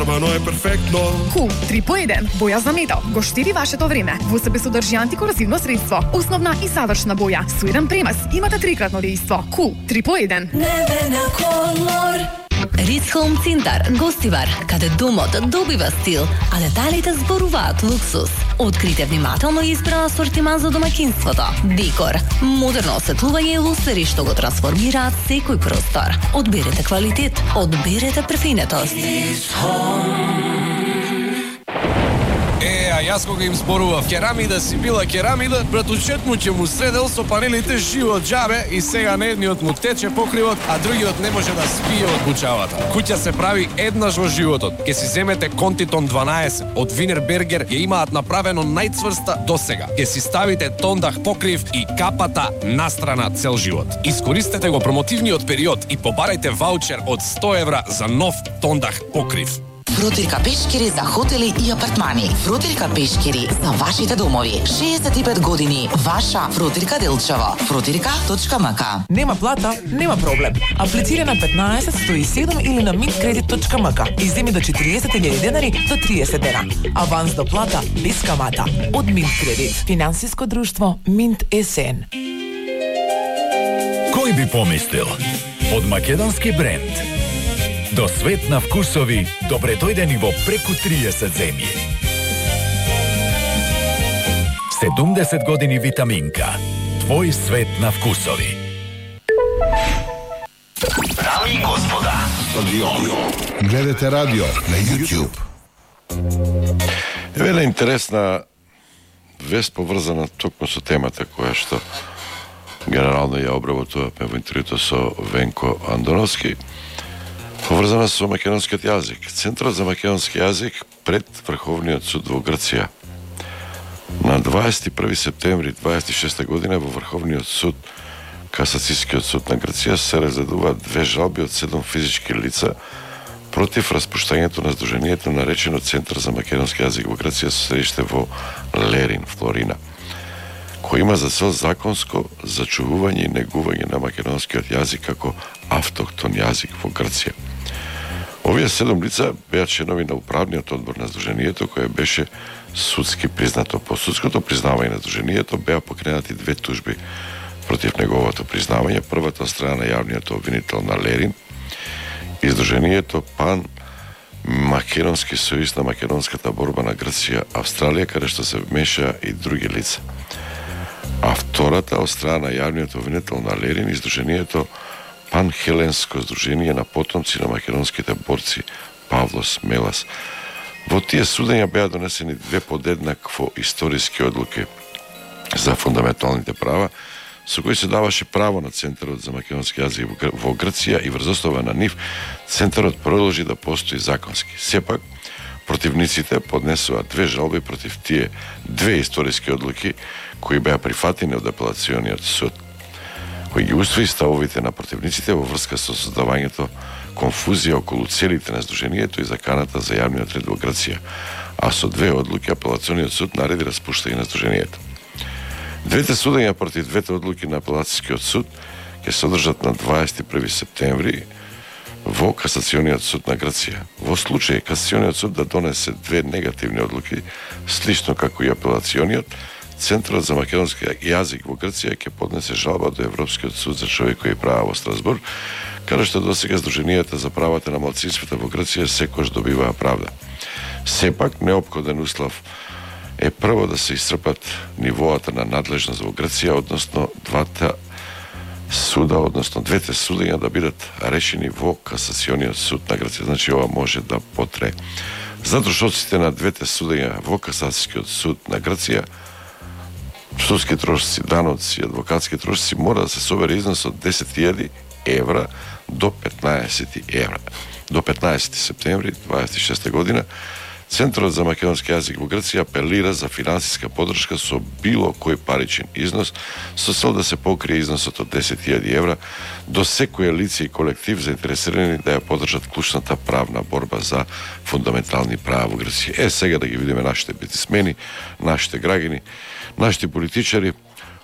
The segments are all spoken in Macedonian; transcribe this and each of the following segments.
Ама но е перфектно. Кул 3 по 1, боја за метал, го штири вашето време. Во себе содржи антикорозивно средство, основна и завршна боја, со еден премаз, имате трикратно дејство. Кул 3 по 1. Небена колор. Рис Хоум Цинтар, гостивар, каде домот добива стил, а деталите зборуваат луксус. Открите внимателно избран асортиман за домаќинството. Декор, модерно осветлување и лусери што го трансформираат секој простор. Одберете квалитет, одберете префинетост. Јас кога им зборував керамида си била керамида, братучет му ќе му средел со панелите живот джабе и сега на едниот му тече покривот, а другиот не може да спие од бучавата. Куќа се прави еднаш во животот. Ке си земете Контитон 12 од Винербергер, ја имаат направено најцврста досега. Ке си ставите тондах покрив и капата настрана цел живот. Искористете го промотивниот период и побарајте ваучер од 100 евра за нов тондах покрив. Фрутирка пешкири за хотели и апартмани. Фрутирка пешкири за вашите домови. 65 години. Ваша Фрутирка Делчево. Frutirka.mk. Нема плата, нема проблем. Аплицира на 15 107 или на mintkredit.mk и земи до 40.000 денари до 30 дена. Аванс до плата без камата. Од Mint Credit. Финансиско друштво Mint СН. Кој би помислил? Од македонски бренд до свет на вкусови, добре дојдени во преку 30 земји. 70 години витаминка. Твој свет на вкусови. Дами и господа, гледате радио на YouTube. Еве една интересна вест поврзана токму со темата која што генерално ја обработувавме во интервјуто со Венко Андоновски, поврзана со македонскиот јазик. Центарот за македонски јазик пред Врховниот суд во Грција. На 21 септември 26 година во Врховниот суд, Касацијскиот суд на Грција, се разгледуваат две жалби од 7 физички лица против распуштањето на здруженијето наречено Центар за македонски јазик во Грција со седиште во Лерин, Флорина, кој има за цел законско зачувување и негување на македонскиот јазик како автохтон јазик во Грција. Овие 7 лица беа членови на управниот одбор на здруженијето, кое беше судски признато. По судското признавање на здруженијето беа покренати две тужби против неговото признавање. Првата од страна на јавниот обвинител на Лерин и здруженијето Пан Македонски сојуз на македонската борба на Грција, Австралија, каде што се вмешаа и други лица. А втората од страна на јавниот обвинител на Лерин и здруженијето Пан-Хеленско здружение на потомци на македонските борци Павлос Мелас. Во тие судења беа донесени две подеднакво историски одлуки за фундаменталните права, со кои се даваше право на Центарот за македонски јазик во Грција и врз основа на нив Центарот продолжи да постои законски. Сепак, противниците поднесува две жалби против тие две историски одлуки кои беа прифатени од апелациониот суд, кој ги усвои ставовите на противниците во врска со создавањето конфузија околу целите на здруженијето и заканата за јавниот ред во Грција, а со две одлуки апелациониот суд нареди распуштање на здруженијето. Двете судења против двете одлуки на апелацијскиот суд ќе се одржат на 21 септември во Касациониот суд на Грција. Во случај Касациониот суд да донесе две негативни одлуки, слично како и апелациониот, Центарот за македонски јазик во Грција ќе поднесе жалба до Европскиот суд за човекови права во Страсбург, каде што досега здруженијата за правата на малцинствата во Грција секогаш добиваа правда. Сепак, неопходен услов е прво да се исцрпат нивоата на надлежност во Грција, односно двете судења да бидат решени во Касациониот суд на Грција. Значи, ова може да потрае. За трошоците на двете судења во Касацијскиот суд на Грција, судски трошци, даноци и адвокатски трошци мора да се собере износ од 10.000 евра до 15 евра. До 15 септември 26 година Центарот за македонски јазик во Грција апелира за финансиска поддршка со било кој паричен износ со цел да се покрие износот од 10.000 евра до секој лице и колектив заинтересирани да ја поддржат клучната правна борба за фундаментални права во Грција. Сега да ги видиме нашите бизнисмени, нашите граѓани, нашите политичари,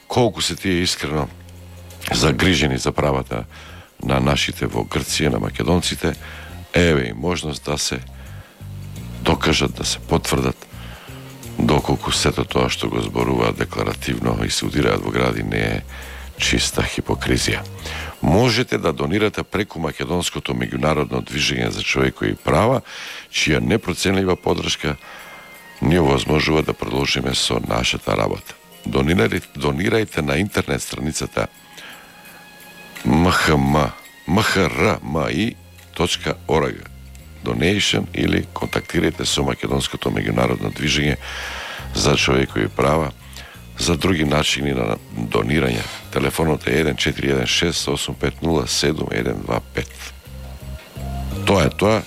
колку се тие искрено загрижени за правата на нашите во Грција, на македонците. Еве и можност да се докажат, да се потврдат, доколку сето тоа што го зборуваат декларативно и се удираат во гради не е чиста хипокризија. Можете да донирате преку македонското меѓународно движење за човекови права, чија непроценлива поддршка ни овозможува да продолжиме со нашата работа. Донирајте на интернет страницата mhrmi.org donation или контактирајте со македонското меѓународно движење за човекови права за други начини на донирање. Телефонот е 1416-850-7125. Тоа е тоа,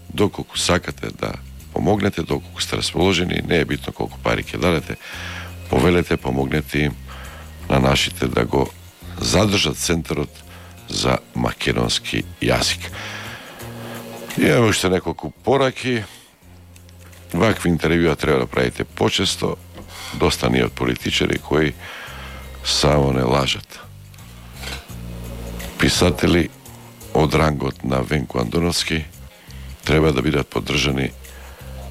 доколку сакате да помогнете, доколку сте расположени, не е битно колку пари ќе дадете, повелете, помогнете им на нашите да го задржат Центарот за македонски јазик. Имаме уште неколку пораки. Вакви интервјуа треба да правите почесто. Доста ни од политичари кои само не лажат. Писатели од рангот на Венко Андоновски треба да бидат поддржани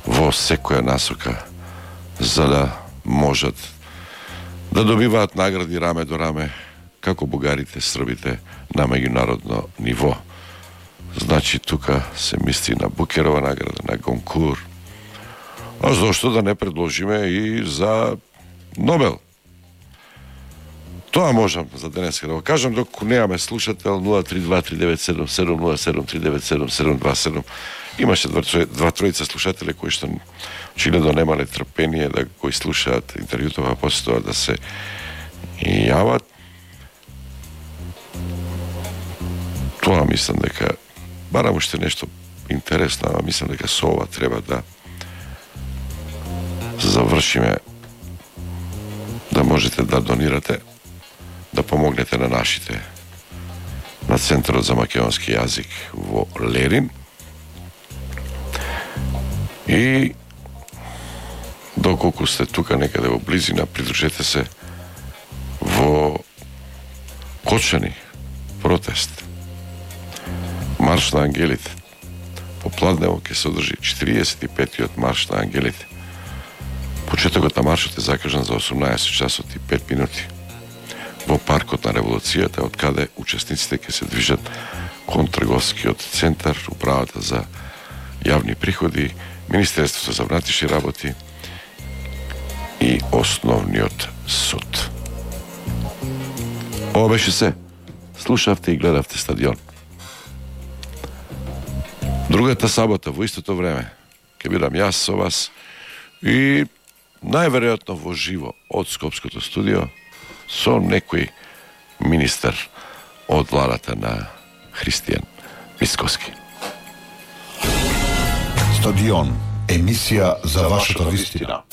во секоја насока за да можат да добиваат награди раме до раме како бугарите, србите на меѓународно ниво. Значи, тука се мисли на Букерова награда, на Гонкур. А зошто да не предложиме и за Нобел? Тоа можам за денеска да го кажам, докато немаме слушател 032-397-707-397-727. Имаше два-тројца слушатели кои што очигледно немале трпение да го слушаат интервјуто, а после тоа да се јават. Тоа мислам дека барам уште нешто интересно, а мислам дека со ова треба да завршиме, да можете да донирате, да помогнете на нашите, на Центарот за македонски јазик во Лерин. И доколку сте тука некаде во близина, придружете се во Кочани протест. Марш на ангелите. Попладнево ќе се одржи 45-тиот марш на ангелите. Почетокот на маршот е закажан за 18 часот и 5 минути во паркот на Револуцијата, од каде учесниците ќе се движат кон трговскиот центар, управата за јавни приходи, Министерството за внатрешни работи и Основниот суд. Ова беше се. Слушавте и гледавте Стадион. Другата сабота во истото време ќе бидам јас со вас и најверојатно во живо од Скопското студио со некој министер од владата на Христијан Мицкоски. Стадион, емисија за вашата вистина.